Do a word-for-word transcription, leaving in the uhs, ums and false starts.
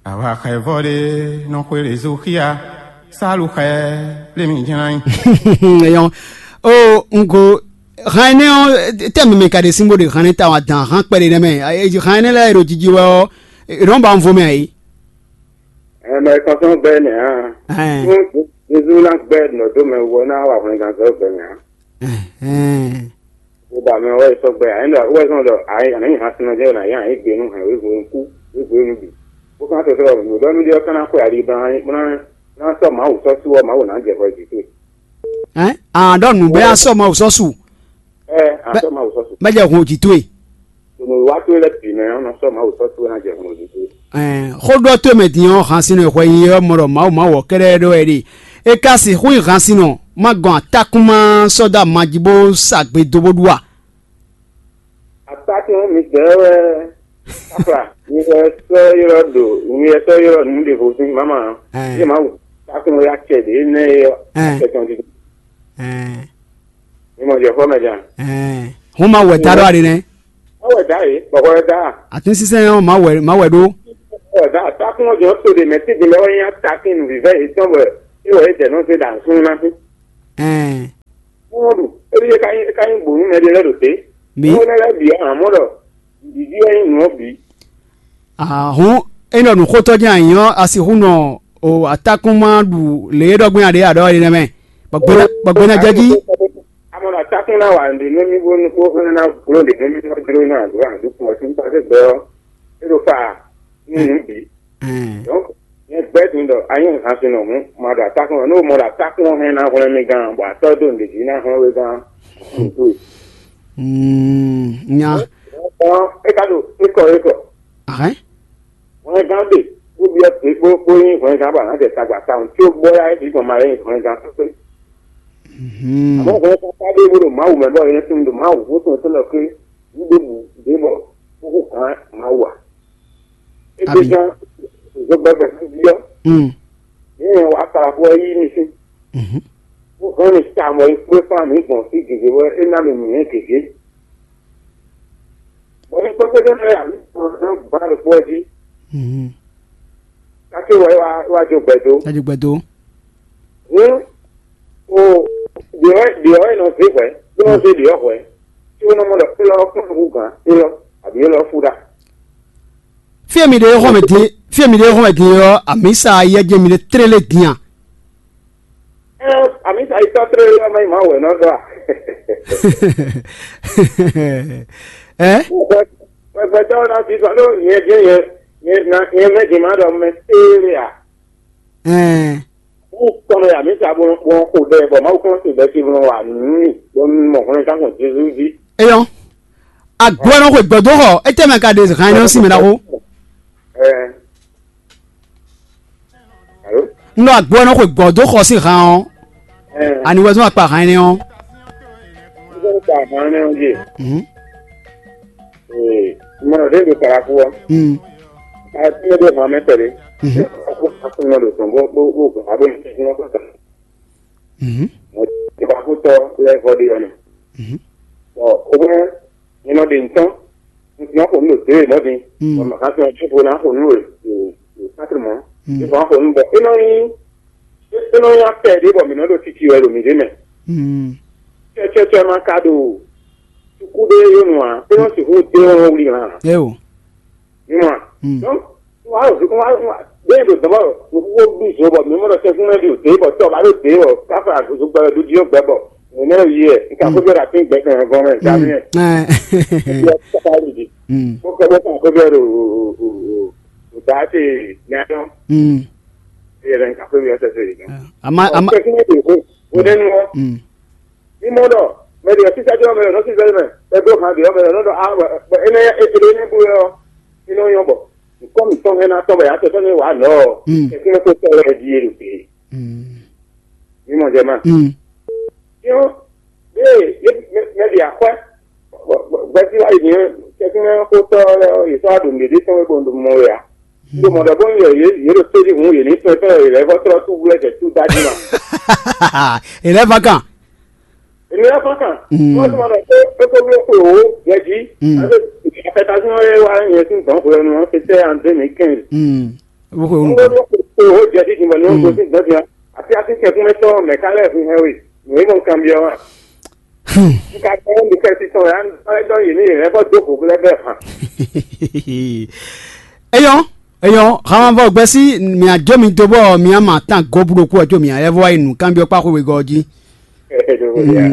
Awa xɛ vɔ ɖé nɔ xwe ɖe zo xia, salu xɛ lé mi jlá nyi. Eyɔn o, un ko han énɛ́ ɔ́, tɛ́ mɛ mɛ ka ɖe sín bó ɖe han énɛ́ ta wá dan han kpɛɖé nɛ́ mɛ. Han énɛ́ lɛ́ɛ e ɖo jiji wɛ ɔ́, è nɔ ba un vo mɛ ǎ é. Ɛ mɛ kɔnsɔn bɛ nɛ hã. Ɛn. Fún Jezu ná gbɛ nɔ dó mɛ wú ɔ́ ná wa hwlɛngán zɔ́ gbɛ mɛ hã. Ɛn. Bó ba mɛ wɛ sɔ́ gbɛ ǎ, é ɖɔ wɛ zɔn ɖɔ ǎ, ǎ ní hǎn sinɔ jɛ ná yá ǎ gbe nú hɛn wěvo kú wěvo nú bǐ. Bó kán tɔtɔ́ ɖɔ nǔ ɖɔ nú ɖé ɔ́ ká ná xwe ali ba ná ná sɔ́ Mawu sɔ́ sú ɔ́, Mawu ná jɛ hwɛ jǐ towe. Ɛn, a ɖɔ nǔ bɛ a sɔ Mawu sɔ́ su. Ɛ a sɔ́ Mawu sɔ́ sú. Bɛ jɛ hun jǐ towe. Ɖo nǔwiwa towe lɛ́ɛ bǐ mɛ ɔ́, nɔ sɔ́ Mawu sɔ́ towe ná jɛ hun jǐ towe. Ɛn, xó ɖɔ towe mɛ din ɔ́, han sin e hwɛ nyi ɔ́ mɔ ɖɔ Mawu ma wɔ kɛ́ɖɛ́ ɖɔ wɛ ɖe. É ka sixú nyí han sin nɔ, ma gɔn atákún ma sɔ́ dó ama jí bó sa gbe dó bó ɖu a? Atákún mi dɛɛ wɛ káfla, mi wɛ sɔ́ ylɔ́ ɖo, mi wɛ sɔ́ ylɔ́ nǔ ɖěvo sín mama. Ɛn. Yé Mawu tákún wɛ acɛ ɖě nɛ é ɔ́, Ɛn. Acɛ tɔn dídí. Ɛn. Mi mɔ jɛ xɔ mɛ jan. Ɛn. Hún ma wɛ ta ɖɔ aɖe nɛ. Ɔwɛ da yě, bɔkɔ wɛ da. Atínsínsɛ́n ɔ́, má wɛ má wɛ ɖó. Ɔwɛ da, atákún ɔ́ jɔ tó ɖe mɛ tídin lɛ wɛ nyí atákín nǔvívɛ́ yětɔn wɛ é wɛ é jɛ nɔ zé ɖa nǔsúnnú ná fí. Ɛn. Wọ́n ɖu, éɖíyé ka nyí ka nyí gbǒ nú mɛɖé lɛ́ɛ ɖo té. Mǐ. Wọ́n lɛ́ bǐ ɔ́, amɔ̌ ɖɔ ɖǐɖí wɛ nyí nǔ ɔ́ bǐ. Ahɔ̌n é nɔ nǔxótɔ́ jɛ́n anyǐ ɔ́, a sixú nɔ o atákún ma ɖu lě e ɖɔ gbɛ́n a ɖě a ɖɔ é nɛ́ mɛ, bɔ gbɛ́ ná bɔ gbɛ́ ná jɛ jí. Amɔ̌ ɖo atákún ná wa nǔɖé nú mì bó bó ná gbló nǔɖé nú mì bó jló ná dó aɖǔkún ɔ́ sín kpákpé gbɛ ɔ́, é ɖo fa nú nǔ bǐ. Ɛn. Donc, nyɛ gbɛ́ din ɖɔ a nyí nǔsasúnɔ hǔn, ma ɖo atákún ɔ́, nú mɔ ɖo atákún ɔ́ hɛn ná hwlɛ́n mì gán, bɔ a sɔ́ dó nǔɖé jí ná hwlɛ́n we gán. Mm, nya. Ɔ́, é ka ɖo ékɔ ékɔ. Ahɛn. Hwlɛngán ɖe, bó byɔ́ gbě bó bó nyí hwlɛngán bɔ a nǎ jɛ tagba tawun có bɔ yá é gbɔn ma lɛ́ nyí hwlɛngán kpékpé. Mhm. Àmọ́ hwlɛngán ka ɖé bó ɖo Mawu mɛ bɔ é nɛ́ tunwun ɖo Mawu bó tunwun tɔn ɖɔ ké nǔ ɖěbǔ ɖě bɔ kókó gǎn Mawu ǎ. É Abi. Gbé gán zogbɛ́gbɛ́ fí jí ɔ́, Mm. nyɛ nyɛ wá kala xó ɔ́ yí mi sín. Mhm. Bó hɛn mi sa mɔ é kpé fán mǐ gbɔn fí gěgé bɔ é ná mi nǔnywɛ́ gěgé. Bɔ é kpékpé ɖé lɛ́ɛ ǎ, mǐ kplɔ́n ná gbǎ ɖokpó ɔ́ jí. Mhm. Káké wɛ é wá é wá jó gbɛ dó. Ɛ jó gbɛ dó. Hǔn o ɖě ɔ́ ɖě ɔ́ é nɔ zé hwɛ̌, bó nɔ zé ɖě ɔ́ hwɛ̌, có nɔ mɔ ɖɔ élɔ́ ɔ́ kún nukún gǎn élɔ́, abǐ élɔ́ ɔ́ fú ɖa. Fí e mi ɖe é xɔ́n mɛ din, fí e mi ɖe é xɔ́n mɛ din ɔ́, amǐsa ayɛ́jɛ mi ɖe tlélé din a? Ɛɛ, amǐsa yi tɔ́ tlélé ɔ́ mɛ yi má wɛ nɔ ɖɔ a? Ɛ? Gbɛgbɛtɔ́ ɔ́ ná fi sɔ́ ɖó nyɛ jɛ́n nyɛ nyɛ ná nyɛ mɛ din má ɖɔ mɛ téé a? Ɛɛ. Wú kɔn mɛ amǐsa bó bó xo ɖɛ bɔ Mawu kɔn sin bɛ́ sin bó wa nǔ n'i bó mɔ hwlɛngán gbɔn Jezu jí. Eyɔn. Agbo ɔ́ nɔ xwe gbɔ̌ dó xɔ, étɛ́ mɛ ka ɖe han énɛ́ ɔ́ sín mɛ ɖaxó? Ɛɛ. Alo? Un ɖɔ agbo ɔ́ nɔ xwe gbɔ̌ dó xɔ sín han ɔ́. Ɛɛ. Ani wɛ zɔ́n akpa han énɛ́ ɔ́? Zɔ́n akpa han énɛ́ ɔ́ jí. Mhm. Ee, mɔ ɖě ɖo Kalaku ɔ́. Mm. A ti mɛ ɖo hɔn mɛ tɛɖe. Mhm. Aku aku mɛ ɖo tɔn bó bó bó gbɔn abo ní tɛn ɔ́ kɔta. Mhm. Mɔ ti ba kú tɔ lɛ vɔ ɖe ɔnɛ. Mhm. Bɔ o bɛ nyɛ nɔ ɖe ntɔn. Ntɔn ko nu ɖo dé mɔ din. Mm. Bɔ mɛ kan tɔn tso na ko nu ɖo ɖo patri mɔ. Mm. Ntɔn ko nu bɔ e nɔ nyi e nɔ nyi akpɛ ɖe bɔ mi nɔ ɖo titi wɛ ɖo mi ɖe mɛ. Mm. Cɛcɛcɛ ma ka ɖo suku ɖé yonu a, e nɔ sixú dé wɔn wuli hã. Eo. Nyuma. Mm. Donc, wa wa wa bẹ́ẹ̀ do dɔbɔ nukuko bí zo bɔ mi mɔ dɔ sɛn fún mɛ bi o dé bɔ tɔ ba do dé bɔ kafa agozo gbɛ do diɔ gbɛ bɔ ne ne yi yɛ nka ko bɛ da tin gbɛ kan gɔn mɛ da mi yɛ. Mm. Yɛ kaka yi di. Mm. Ko kɛ bɔ kan ko bɛ do o o o o da te nyanyɔ. Mm. Yɛ dɛ nka ko bɛ sɛ sɛ yi. Ama ama. Kɛ fún mɛ bi o o ne nu. Mm. Mimɔ ɖɔ mɛ ɖe sísá jɔ mɛ ɖɔ sísá mɛ, mɛ ɖo hàn ɖe mɛ ɖɔ ɖɔ a mɛ ene ene ne bu yɔ ene yɔ bɔ nkɔ mi tɔn hɛn na tɔn bɛ ya tɔn ne wa nɔ. Mm. Ekun ko tɔ wɛ di yɛ ɖe. Mm. Mimɔ jɛ ma. Mm. Yɔ ye mɛ ɖe akwɛ gbɛsi wa yi ni kɛkun ko tɔ ye sɔ aɖo mɛ ɖe tɔn wɛ bɔ ndo mɔ wɛ ya. Ndo mɔ ɖɔ bɔ yɛ ye ye ɖo seli hun ye ni tɔn tɔn ye lɛ vɔ trɔ tu wlɛ jɛ tu da di ma. Ele va kan. Èmi wá fɔ́n kan. Wọ́n ti máa bẹ̀ pé é kó bló xwe wò jẹ́ jí. Àti àfẹ́tàsíwọ́n yẹn wá yẹn sín dɔ̌n xwe ọ̀nà wọn fi tẹ́ àǹdé mi kẹ́hìn. Wọ́n kó bló xwe wò jẹ́ jí jìnbọn ní wọ́n kó sín dɔ̌n jí wọn. Àti àti kẹ̀kún mẹ́tọ́ mẹ̀ká lẹ́ẹ̀kún hẹ́ wè. Wèé mọ̀ kan bí ọ wà. Nka kọ́ ọ́n mi kẹ́ sí tán yá ẹ dɔn yìí ní yìí ẹ bọ́ dó kò lẹ́ bẹ́ẹ̀ hàn. Eyɔn, eyɔn, xamavɔ gbɛsí mia jɔ mi dó bɔ mia ma tán gɔbúɖokú ɔjɔ mia yɛ vɔ wá yi nǔ kanbyɔ kpá xwe wegɔ jí. Ẹ dó wò yá.